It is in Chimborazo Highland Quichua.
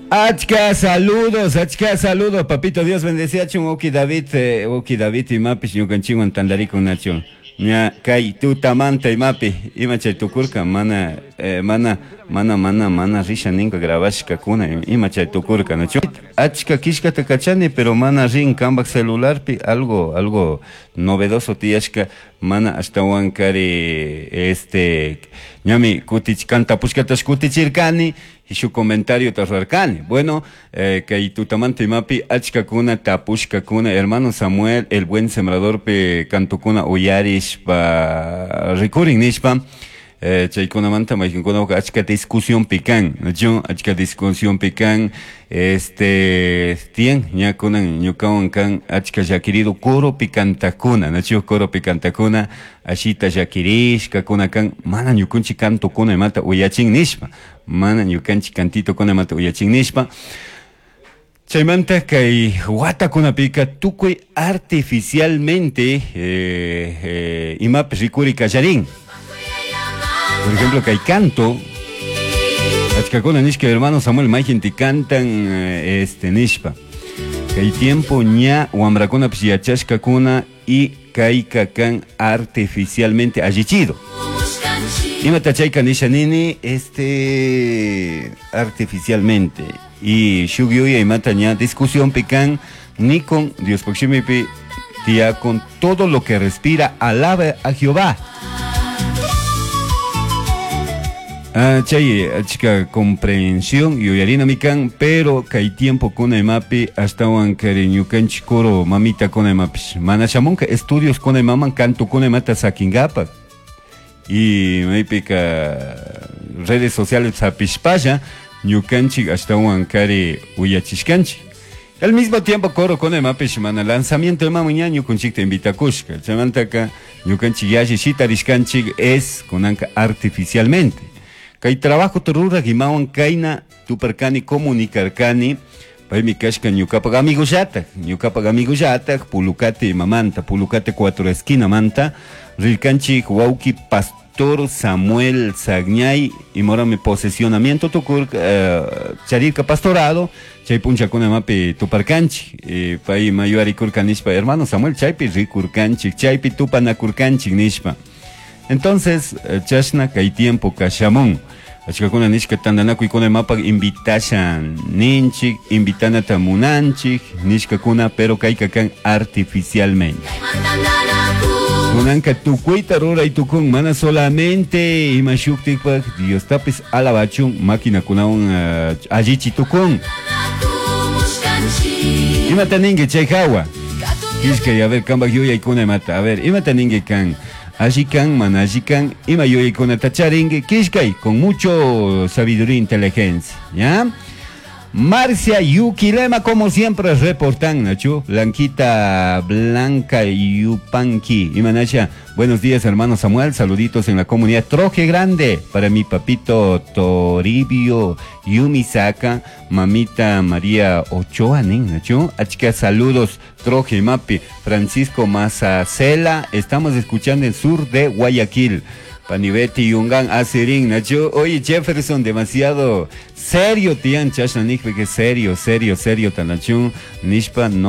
Achka saludos, achka saludos, papito Dios bendeciachun, Oki David, Oki David imapish ñukanchikwan tantarikunachu. Ña kay tutamanta imapi, ima chay tukurka, mana, mana, mana, mana, mana risha ninka grabashkakuna, ima chay tukurka, nachu. Achka kishkata kachani, pero mana rin kambak celularpi, algo, algo novedoso tiyashka, mana ashtawan kari, este, ñami kutich, kantapushkatash kutichirkani, shu comentario rurarkani. Bueno, kay tutamanta imapi achkakuna tapushkakuna, hermano Samuel, el buen sembrador pe kantukuna uyarishpa rikurin nishpa, chaykunamanta mayqinkunawqa achka discusión pican, nachu achka discusión pican, este, tiyan ña kunan ñukawan kan achka llakirido coro picantakuna, nachu coro picantakuna, ashita llakirishkakuna kan, mana ñukunchik kantukuna imata uyachin nishpa, mana ñukanchik kantitokuna imata uyachin nishpa. Chaymanta kay watakunapika tukuy artificialmente, imapi rikuri kallarin. Por ejemplo, kay canto, achkakuna nishka hermano Samuel mayqinti cantan, este, nishpa. Kay tiempo ña wamrakunapish yachashkakuna y kayka kan artificialmente allichido. Imata chayka nisha nini, este, artificialmente. Y shuk yuya imata ña discusión pican ni con Dios poximipi tía con todo lo que respira alabe a Jehová. Ah, chay achka comprensión yuyarina mikan, pero kay tiempo kuna imapi ashtawan kari ñukanchik coro mamita kuna imapish mana shamunka estudios kuna imaman canto kuna imata sakingapak. Y maypika redes sociales sapishpalla ñukanchik ashtawan kari uyachishkanchik. Al mismo tiempo coro con imapish mana lanzamiento imaman ña ñukanchikta invitakushka. Chaymantaka ñukanchik yalli shitarishkanchik es kunanka artificialmente. Kay trabajo tururak imawan kayna tuparkani comunicarkani paymi kashka ñukapak amigollatak, ñukapak amigollatak Pulucate imamanta, Pulucate 4 esquinamanta rirkanchik wawki pastor Samuel Sagñay imorami posesionamiento tukur, charirka pastorado chay punchakuna imapi tuparkanchik, pay mayuarikurka nishpa hermano Samuel chaypi rikurkanchik, chaypi tupanakurkanchik nishpa. Entonces, chashna kay tiempo kashamun. Achkakuna nishka tantanakuykuna imapak invitasha ninchik, invitanata munanchik, nishkakuna, pero kayka kan artificialmente. Kunanka tukuyta ruray tukun, mana solamente ima shuktikpak Diostapis alabachun maquinakunawan, allichi tukun. Imata ninki chay hawa? Kishkay, a ver, kambak yuyaykuna imata, a ver, imata ninki kan? Alli kan, mana alli kan, ima yuyaykunata charinki, kishkay, con mucho sabiduría e inteligencia, ¿ya? Marcia Yuquilema, como siempre, reportan, Nacho. Blanquita Blanca Yupanqui. Imanacha, buenos días, hermano Samuel. Saluditos en la comunidad Troje Grande. Para mi papito Toribio Yumisaka, mamita María Ochoa, nin, Nacho. Achka, saludos, Troje Mapi. Francisco Mazacela, estamos escuchando el sur de Guayaquil. Panibeti Yungan Asirin, Nacho. Oye, Jefferson, demasiado serio, tian, chashna, nishpa, que serio, serio, serio, tanachun, nishpa, no.